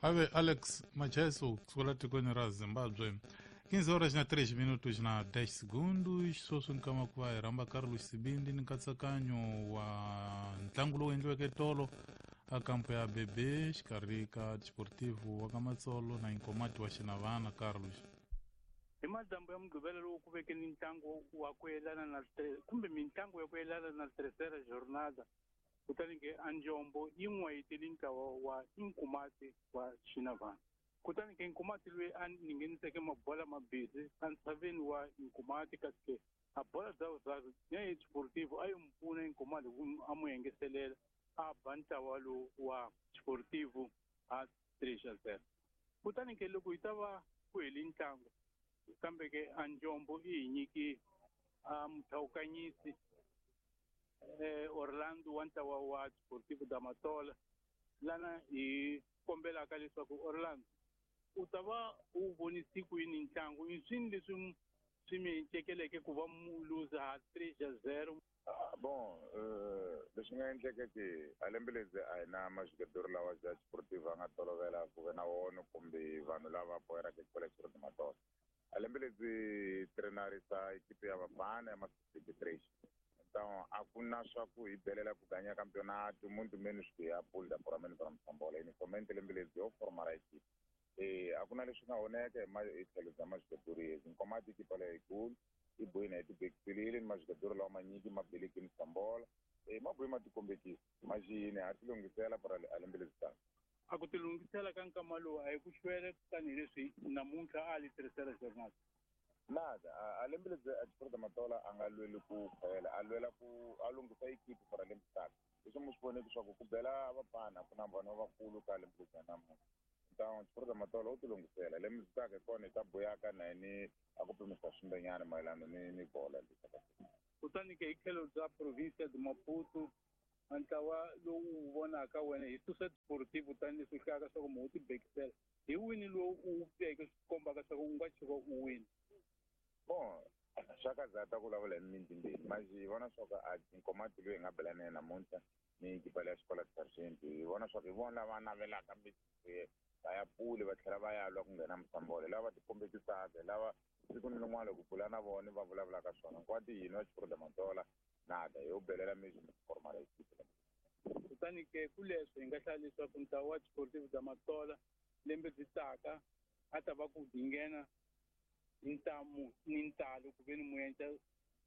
Ave Alex Macheso kusukela tikweni ra Zimbabwe. 15 horas na 3 minutos na 10 segundos. Sweswi nkama ku va hi rhamba Carlos Sibindi ni nkatsakanyo wa ntlangu lowu endliweke tolo a kampo ya BB xikarhi ka Desportivo wa ka Matsolo na Inkomati wa Xinavana. Carlos, hi madyambu ya Mugqivela lowu ku veke ni ntlangu wa ku yelana na kumbe mitlangu ya ku yelana na Terceira Jornada, kutani ke Anjombo yi n'wayiteli ntlawa wa Inkomati wa Xinavana. Kutani ke Nkomati loyi a ningeniseke mabola mabisi entshaveni wa Nkomati, kasi ke a bola bya vuswazi ya Desportivo a yi n'wi pfuna Nkomati ku a n'wi engetelela a ba ntlawa lowu wa Desportivo a 3-0. Kutani ke loko yi ta va ku hele ntlangu, kambe ke Anjombo i hi nyiki a muthawukanyisi Orlando wa ntlawa wa Desportivo da Matola, lana hi kombelaka leswaku Orlando u ta va u vonisi ku yini ntlangu, i swini leswi swi mi cekeleke ku va mu luza ha 3-0? Bon, leswi nga endleka ke a lembe ledzi a hi na majugadori lawa ja Desportivo a nga tolovela ku ve na wona kumbe vanhu lava boheraka xikolo xa Desportivo Matola. A lembe ledzi trenarisa ekipe ya vafana ya ma-23. Então a ku na swa ku hi belela ku ganya campeonato, muito menos ku ya pulda puramente para Msambola. Inicialmente lembe ledzi yo formar a equipe. A ku na leswi nga oneka hi tlhelo bya majugadori yezi. Nkomati ekipa leyikulu i bohini hi tibekiselile ni majugadori lawa manyiki ma beleki Msambola. Ma bohi ma tikombekisa maxini ha tilunghisela para a lembe ledzi taka. A ku tilunghisela ka nkama lowu a hi ku xwele tanihileswi namuntlha a li tirhisela jornal. Nada, a lembe ledzi a Desportivo Matola a nga lweli ku khwela, a lwela ku a lunghisa ekipi para lembe taka. Leswi mu swi voneke swa ku ku bela vafana ku na vanhu lavakulu ka lembe ledzi namuntlha. Então Desportivo Matola u tilunghisela lembe ledzi taka hi kona hi ta buyaka na yini a ku pimisa swimbenyana mayelana ni bola leyi. Kutani ke hi tlhelo bya province de Maputo, ntlawa lowu vonaka wena hi susa Desportivo tanihileswi hlayaka swa ku mu tibekisela, hi wini lowu u veke swi kombaka swa ku u nga tshuka u wini? Bon, swa ka zata ku vulavula hi mintimbeni, mas hi vona swa ku a Nkomati loyi hi nga bela na yena namuntlha ni ekipa leya xikola Sargent, hi vona swa ku hi vona lava navelaka va ya pule va tlhela va ya lwa ku nghena Msambola, lava va tikombekisaka, lava siku ni rin'wana loko bula na vona va vulavulaka swona. Nkwati hina wa Desportivo Matola nada yo belela mesmo formar a equipe. Kutani ke ku leswi hi nga hlaya leswaku ntlawa wa Desportivo da Matola lembe byi taka a ta va ku nghena hi ntamu ni ntalo ku ve ni muenca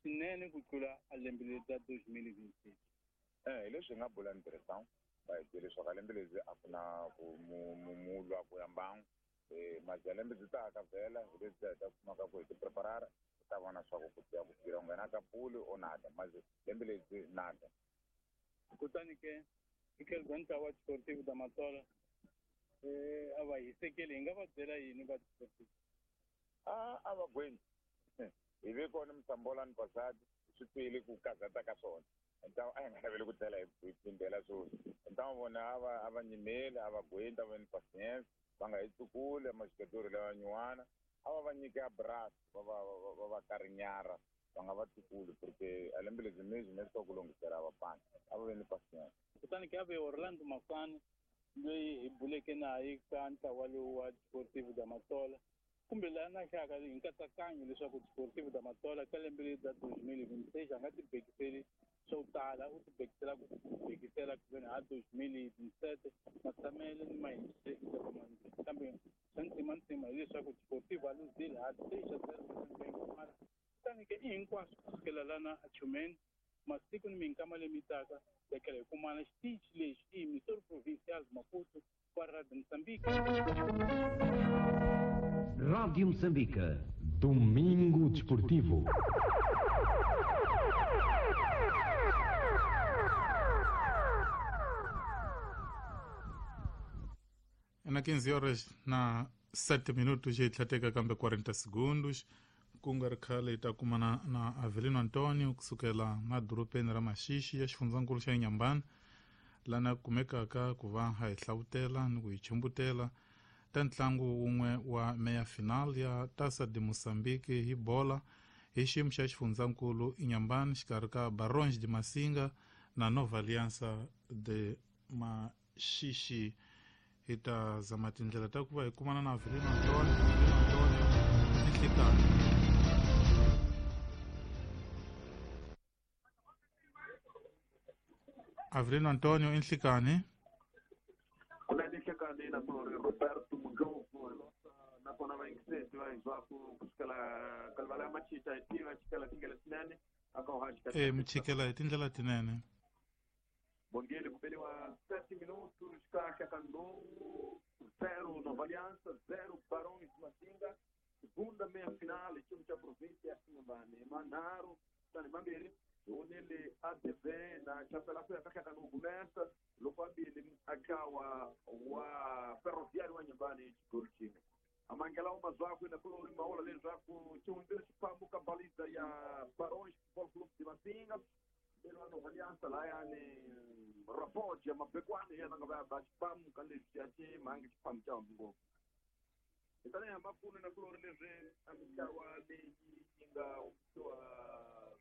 swinene ku tlula a lembe leri ra 2026. Hi leswi hi nga bula ni tirhisang va hi byele leswaku a lembe ledzi a ku na ku mu lwa ku ya mbangu. Maja lembe byi taka vhela hi leswi hi ta kumaka ku hi ti preparara, hi ta vona swa ku ku tiya ku tirha nghena ka puli o nada, maje lembe ledzi nada. Kutani ke hi tlhelo bya ntlawa wa Desportivo da Matola, a va hisekeli, hi nga va byela yini va Desportivo? A va gweni. Hi ve kona Msambola ni Pasadi, swi twile ku kazata ka swona. Então a hi nga naveli ku tlhela hi phindela sweswi. Então vona a va nyimeli, a va gweni, ta va ni patience, va nga hi tsukuli majugadori lawa nyuwana, a va va nyike abraço, va va karinyara, va nga va tsukuli porque a lembe ledzi mesmo ne swa ku lunghisela vafana, a va ve ni patience. Kutani ke a ve Orlando Mafani loyi hi buleke naye ka ntlawa lowu wa Desportivo da Matola, kumbe laha na hlaka hi nkatsakanyo leswaku Desportivo da Matola ka lembe leri ra 2026 a nga tibekiseli swo tala, u tibekisela ku bekisela ku veni ha 2027 matshamele ni mahindziselo, kambe swa ntima ntima hileswaku Desportivo a luzile ha 3-0. Kutani ke i hinkwaswo kusukela lana a Chumeni, masiku ni minkama leyi taka hi tlhela hi kumana xitichi lexi i Missouri Provincial Maputo kwa Radio Moçambique. Rádio Moçambique. Domingo Desportivo. Na 15 horas na 7 minutos hi tlhateka kambe 40 segundos ku nga ri khale hi ta kumana na Avelino Antonio kusukela na dorobeni ra Maxixi ya xifundzankulu xa Inhambane, lana kumekaka ku va ha hi hlavutela ni ku hi chumbutela ta ntlangu wun'we wa meya final ya Taça de Moçambique hi bola hi xiyimo xa xifundzankulu Inhambane xikarhi ka Barões de Massinga na Nova Aliança de Maxixi. Hi ta zama tindlela ta ku va hi kumana na Avelino Antonio, Avelino Antonio enhlekani. Avelino Antonio enhlekani. Kunene nhlekani na kulori Roberto Mudlovu nakona vayingiseti va hiswaku kusukela kalivala ya Machicha hi tiva chikela tindlela tinene aka uhaji e michikela hi tindlela tinene. Bongele kubeliwa 7 minutos kahle ka 0 Nova Aliança 0 Barões de Massinga, segunda meia final time cha província ya Inhambane manharu tani mambirhi hunile ADV na chapela ku ya kahle ka começa loko ambili akawa wa Ferroviário wa Inhambane xigolo xin'we amangela uma zwaku na kulori maola leswaku xihundzile xifambo ka baliza ya Barões Futebol Clube de Massinga lero Nova Aliança layani Rapoja mabekwane yena nga va xifamu ka leswi ya ximangi xifamu xa ngopfu hi tanihi mapfuno na kulori leswi a mitlawa leyi yi nga humesiwa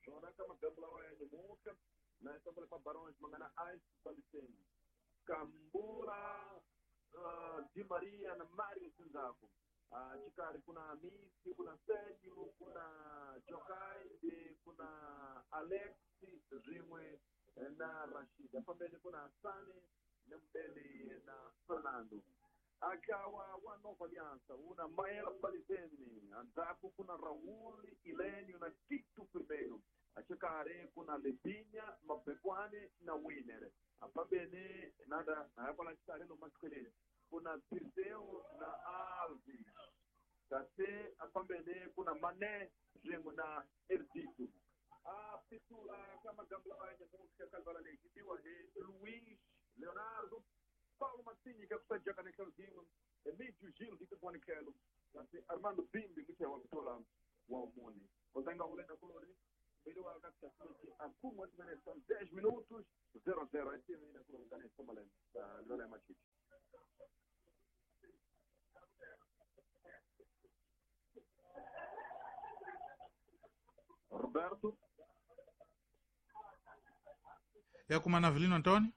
swona ka magambo lawa ya nyamuka na xitambele pa Barões ma nga na Ice Baliseni Kambula Di Maria na Mario Sinzaku xikarhi ku na Misi ku na Sergio ku na Jokai ku na Alex rin'we na Rashid fambeni ku na Hasani na Mbele na Fernando akawa wa Nova Aliança una Maela Balizeni andzhaku ku na Raul Ilenio na Tito Primeiro axikarhi ku na Lebinha Mabekwane na Winner afambeni nada kwala xikarhi lomu matlheleni ku na Dirceu na Alves kasi afambeni ku na Mané swin'we na Erdito a pitula ka magambo lawa ya nyamuka kalivala leyi yi tiwa hi Luiz Leonardo Paulo Mazzini ka kusajaka nekhelo dingwe Emídio Gil de Kekwanikelo kasi Armando Bimbi muche wa kutola wa umuni kozanga ulenda kulori mbili wa katikati akumwa timenesa 10 minutos 0-0 etimu ina kulonganesa malema lola ya Machichi Roberto ya kumana Avelino Antonio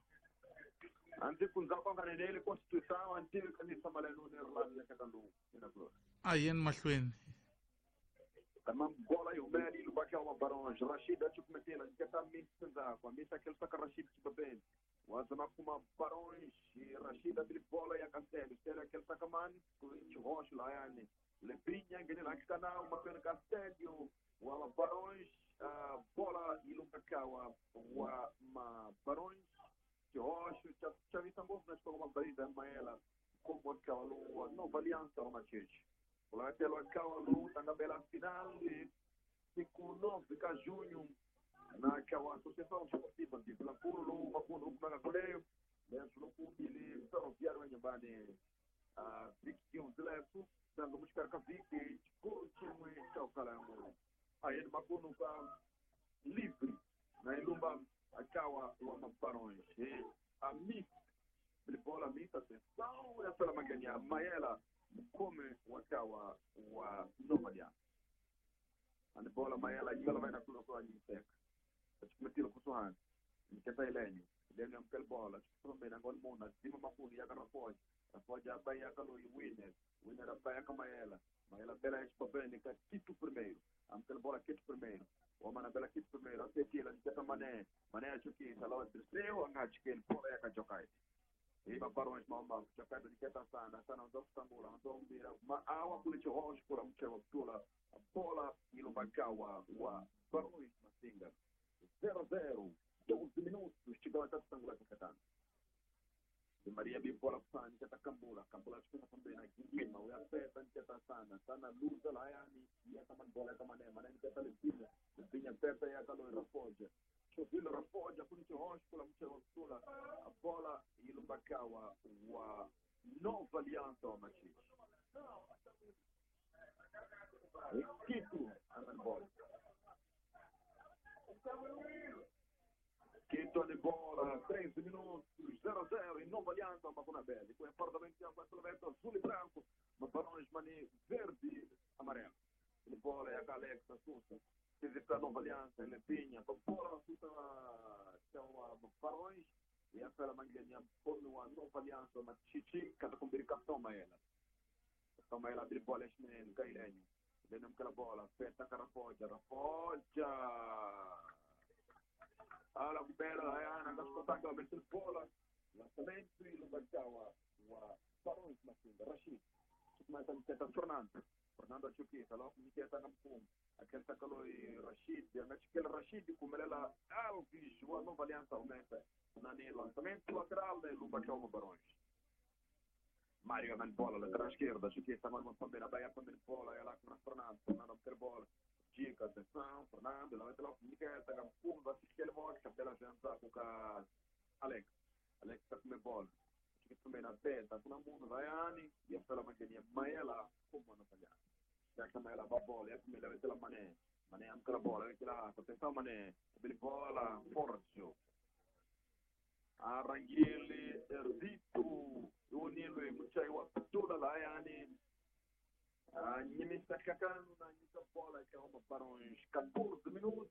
anti kunzako nganelele constituição anti kanisa maleno ne rlani ya kakandu ina kulori ayen mahlweni kama bola yumeli lubaka wa Barões Rashid achukumetela nkata mitsenza kwa mita kelsa ka Rashid chibabeni wazama kuma Barões Rashid abili bola ya Castelo stela kelsa kaman kuchi hosh layani Lebinha ngenela kana mapena Castelo wa Barões bola ilubaka wa ma Barões Rocha chavisa ngopfu na xikwanga mabaliza maela como akawa Nova Aliança wa Machichi ulatelo akawa lowu tangabela final siku 9 ka junho na akawa Associação Esportiva de Vilanculo lowu makuno ukumaka kuleyo leswi loko ili Ferroviário wa Inhambane vhiki hundzileku tanga muxikarhi ka vhiki xikolo xin'we xa ku kala ya ngopfu ayeni makuno ka livre na ilumba akawa wa Barões a missa bola missa atenção ya pela magania Maela mukome wakawa wa Nova Aliança and bola Maela yala vai na kulo kwa nyiseka achikumetilo kusuhani niketa ilenyo ilenyo amkel bola chikumena ngol mona zima makuni ya karapoja rapoja abaya kalo winner winner abaya kamaela Maela bela chipapeni ka Tito primeiro amkel bola Tito primeiro wamana bela Tito primeiro atetila niketa mané mané achukisa lawa terceiro angachikeli bola ya kajokai iba Barões mama Jokai niketa sana sana ndo kutangula ndo mbira ma awa kule chihosh kula mchewa kutula bola ilobakawa wa Barões Massinga 0-0 12 minutos chegou até kutangula kakatano Maria bibola kusani niketa kambula kambula chukuna pambena gima uyapeta niketa sana sana luza layani yakaman bola yakamane mané niketa lebinya lebinya pepe yakalo rafoja Chovilo rafoja kuni chihosh kula mchewa kutula bola ilobakawa wa Nova Aliança wa Machichi Quito bola Quito de bola, 13 minutos, 0-0 em Nova Aliança, Macuna Bele. Com apartamento azul e branco, Barões Mani verde amarelo. De bola é a Alex Assunção. Visita Nova Aliança, Lepinha, bola Assunção, são Barões, Ya fela mangeni ya mkomi wa Nova Aliança Machichi kata kumbiri capitão Maela. Capitão Maela abre bola xinene Gailenho. Leno aquela bola, feta Carafoja, Rafoja. Ala kubela hayana ngasikotaka bese bola. Lançamento e Lumbajawa wa Barões Matinga Rashid. Mas a Fernando. Fernando Chuquita, logo Niketa Nampum. Aquele sacalo e Rashid, aquele Rashid kumelela Alves, wa Nova Aliança aumenta. Nani lançamento lateral de Lumbajawa Barões. Mário na bola, lateral esquerda, Chuquita, agora também na Bahia, também bola, ela com Fernando, Fernando ter bola. Dica, atenção, Fernando, lá vai ter lá o Niketa, Nampum, vai assistir ele morre, capela janta com Alex. Alex tá com bola. Chuquita também na teta, com a mundo, vai Ani, e a fela manguinha, Maela, como não falhar. Já que a Maela vai bola, é a primeira vai ter lá Mané. Mané amca bola, vai ter lá, atenção Mané, bola, Forjo. Arangile, Erdito, Unilo, Muchai, Wapatula, Laiane, Nimistakakano, na Nita bola, que é uma para uns 14 minutos,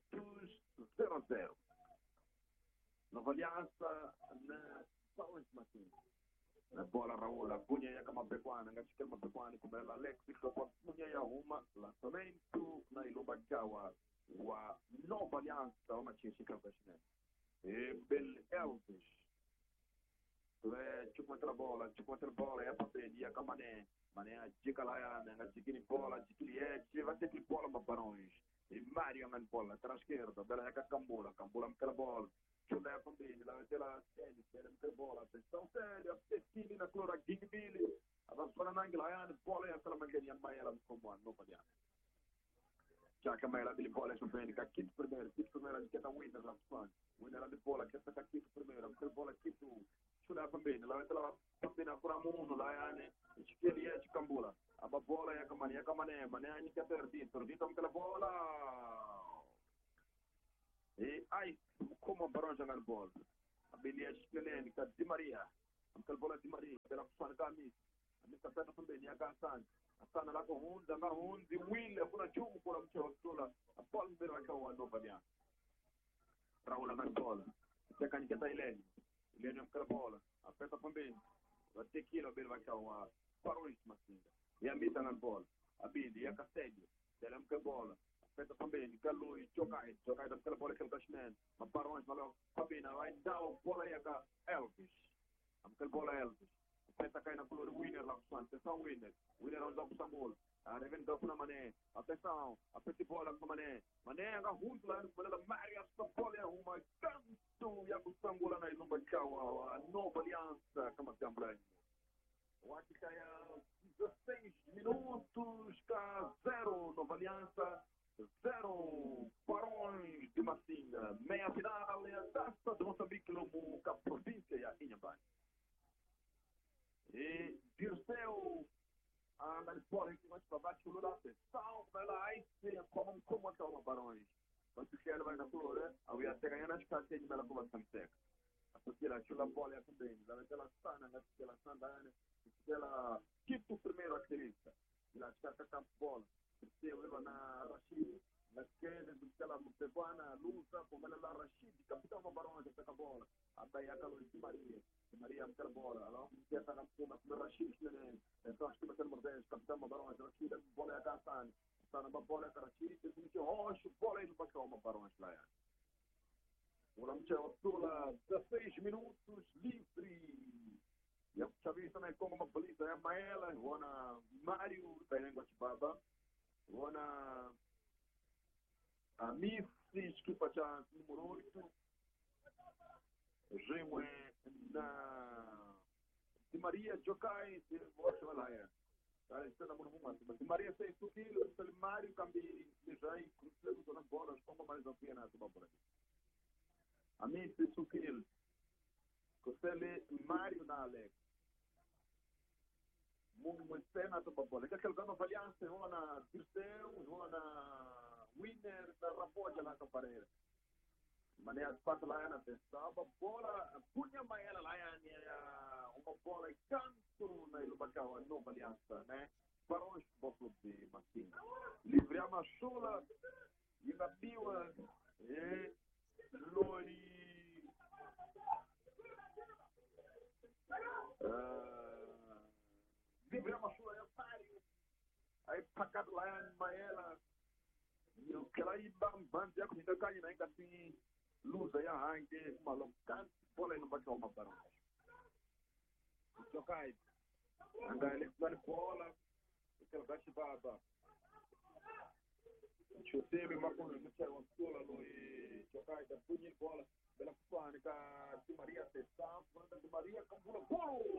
0-0. Nova Aliança, na Barões Martins. Na bola, Raul, a Cunha e a Camapequana, Ngachikel Mapequana, como ela, Alex, a Cunha e a Ruma, lançamento, na Ilumbajawa, wa Nova Aliança, uma Chichica, e Bel Elvis. Chupa bola, é para pedir a Camané. Mané, a dica lá, a dica bola, a dica vai ter que bola para Barões. E Mário na bola, lateral esquerda, bela é Cambula, Cambula aquela bola. Chulé também, lá vai ter lá, Célio, Célio aquela bola. Atenção, Célio, Cecília na clora, Gigbili. Avançou na Anglaiane, bola é aquela mangueirinha, Maela como a Nova Aliança. Já que a Maela dele bola, é bem, Quito primeiro, que é da Winner lá, Winner de bola, que é da Quito primeiro, aquela bola Quito. Chulé também, lá vai ter lá, também na Curamundo, lá, né? Esquerda de Cambula. A bola é a Camané, Camané, Mané, a Nica Perdido, Perdido aquela bola. E ai, como a Barão jogar bola. A Belia Esquelênica, Di Maria. Aquela bola de Maria, pela Fana Gamis. A Mista Peta também, a Gassan. A Sana lá com Honda, na Honda, William, por a Chumbo, por a Mchola, a bola vai cair a Nova Aliança. Raul na bola. Até a Nica Ilene. Ilene aquela bola. A Peta também. Vai ter que ir ao vai cair a Barões Matinga. E a Mita na bola. A Bili, e a Castédio. Ela é bola. Aperta também. Galo e Jokai. Jokai dá aquela bola que ele tá chinendo. Mas Barões, valeu. Fabina, vai dar a bola aí a Elvis. Aquela bola Elvis. Aperta cai na color Winner lá com atenção, Winner. Winner onde dá com Samuel. A revenda com a Mané. Atenção. Aperta a bola com a Mané. Mané agarra junto lá no bola da Maria. Essa bola é uma canto. E a Samuel na Ilumba Tchau. A Nova Aliança. Como se chama? O Atikaia, 16 minutos, cá 0, Nova Aliança, 0, Barões de Massinga. Meia final é a Taça de Moçambique, Lomo, cá província e a Inhambane. E Dirceu, a bola que vai para baixo, o Lula, salva ela, aí como até uma Barões. Mas o que ela vai na flor, a ia até ganhar nas casas de Bela Cova Seca. A chula bola também, ela sana, ela sana, ela Quito primeiro atleta, ela está com a bola, terceiro ela na Rashid, na esquerda ela Mutevana, Lusa, como ela na Rashid, capitão do Barões está com a bola, a Bahia Calor de Maria, Maria com a bola, ela está na com a Rashid, né? Então acho que vai ser número 10, capitão do Barões, Rashid, bola é a Hassan, está na bola é a Rashid, tem roxo, bola aí no Pascal, Barões lá. O 16 minutos livre. E a Chavista na como uma polícia é Maela, Rona Mário da Guatibaba, Rona Amicis que passa número 8, Jimwe na Di Maria Jokai, se lá é. Tá na mão Di Maria 6 quilos, Mário Cambi, já cruzeiro na bola, como mais a pena do bola. Amici Sukil, Costele Mário na Alex. Muito do bola. Que aquele Nova Aliança, Rona Dirceu, Rona Winner, da Rapoja lá com Pareira. Mané as quatro lá na pensava, bola, punha Maela lá uma bola e canto na Ilubacau, a Nova Aliança, né? Barões Futebol Clube de Massinga. Livre a Machula, e na Biwa, e Lori Gabriel Mashula ya Mario a yi phakati layani mayela yi tlhela yi ba mbhandzi ya ku hingakanya na yi nga ti luza ya hange maloko bola yi nomba tlhoma barons Jokai anga le ku bola tlhela ka xibaba Chosebe makuno mutshari wa msula loyi Jokai ta punyi bola bela kufani ka Di Maria Tessa Di Maria kambula golo.